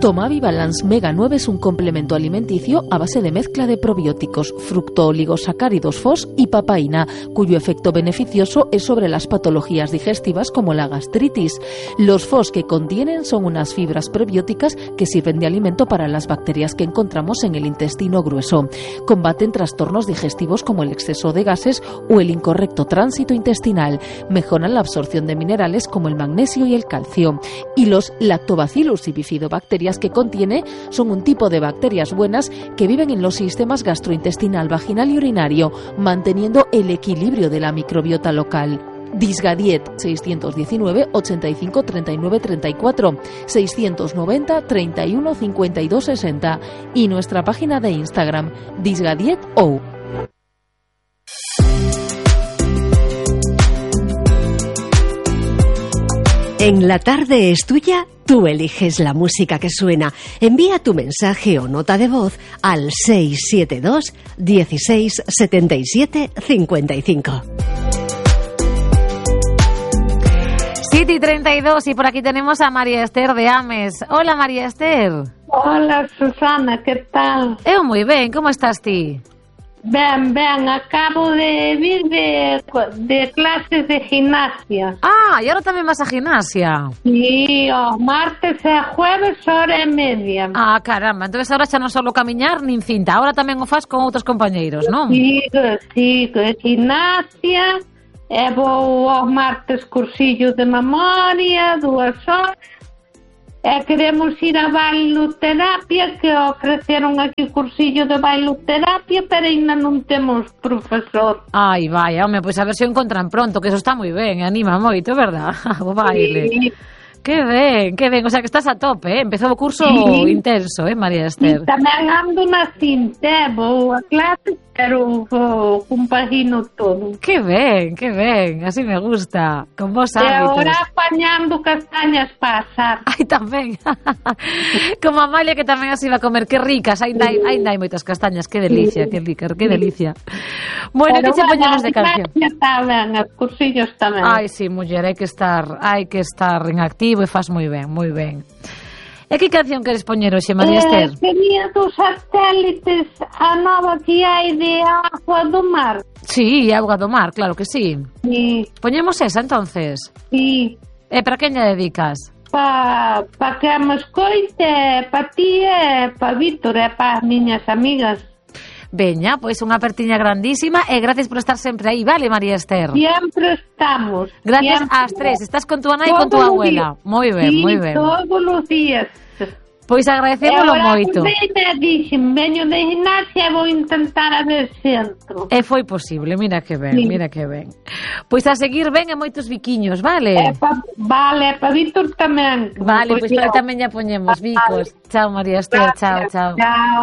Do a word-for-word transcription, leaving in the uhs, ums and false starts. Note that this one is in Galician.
Tomavi-Balance Mega nueve es un complemento alimenticio a base de mezcla de probióticos, fructooligosacáridos F O S y papaína, cuyo efecto beneficioso es sobre las patologías digestivas como la gastritis. Los F O S que contienen son unas fibras prebióticas que sirven de alimento para las bacterias que encontramos en el intestino grueso. Combaten trastornos digestivos como el exceso de gases o el incorrecto tránsito intestinal. Mejoran la absorción de minerales como el magnesio y el calcio. Y los Lactobacillus y bifidobacterias que contiene son un tipo de bacterias buenas que viven en los sistemas gastrointestinal, vaginal y urinario, manteniendo el equilibrio de la microbiota local. Disgadiet seiscientos diecinueve ochenta y cinco treinta y nueve treinta y cuatro, seiscientos noventa treinta y uno cincuenta y dos sesenta y nuestra página de Instagram disgadieto. En La Tarde es Tuya, tú eliges la música que suena. Envía tu mensaje o nota de voz al seis siete dos dieciséis setenta y siete cincuenta y cinco. siete y treinta y dos y por aquí tenemos a María Esther de Ames. Hola, María Esther. Hola, Susana, que tal? Eu moi ben, como estás ti? Ben, ben, acabo de vir de, de clases de gimnasia. Ah, e agora tamén vas a gimnasia? Sí, os martes e jueves hora e media. Ah, caramba, entonces ahora xa non solo camiñar nin cinta, ahora tamén o faz con outros compañeiros, non? Sigo, sigo, gimnasia, e vou aos martes cursillo de memoria, dúas horas. E queremos ir a bailoterapia, que ofreceron aquí cursillo de bailoterapia, pero ainda non temos profesor. Ai, vai, home, pois a ver se o encontran pronto, que eso está moi ben, anima moito, verdad? O baile. Sí. Que ben, que ben, o sea que estás a tope, eh? Empezou o curso sí. intenso, eh, María Esther? E tamén ando na cinta, vou a clase, pero vou compagino todo. Que ben, que ben, así me gusta, con vos hábitos. E agora apañando castañas para asar. Ai, tamén. Como Amalia, que tamén así va a comer, que ricas, ainda hai, ainda hai moitas castañas, que delicia, que rica, que delicia. Bueno, que che poñemos de canción? Está ben, os cursillos tamén. Ai, sí, muller, hai que estar, hai que estar en activo e faz moi ben, moi ben. E que canción queres poñer hoxe, María Esther? Eh, quería dos satélites, a nova que hai de Auga do Mar. Sí, Auga do Mar, claro que sí. Sí. Poñemos esa, entonces? Sí. E para quen lle dedicas? Pa, pa que me escoite, pa ti e pa Víctor e pa as miñas amigas. Veña, pois unha apertiña grandísima e gracias por estar sempre aí, vale, María Esther? Siempre estamos. Gracias siempre. ás tres, estás con tu nai e con tu abuela. Moi ben, sí, moi ben. todos os días. Pois agradecémolo moito. E dixen, veño de gimnasia e vou intentar a ver se entro. E foi posible, mira que ben, sí. mira que ben. Pois a seguir ben e moitos biquiños, vale? E pa, vale, para Víctor tamén. Vale, pois para tamén ya poñemos bicos. Chao, María Esther, chao, chao. Chao.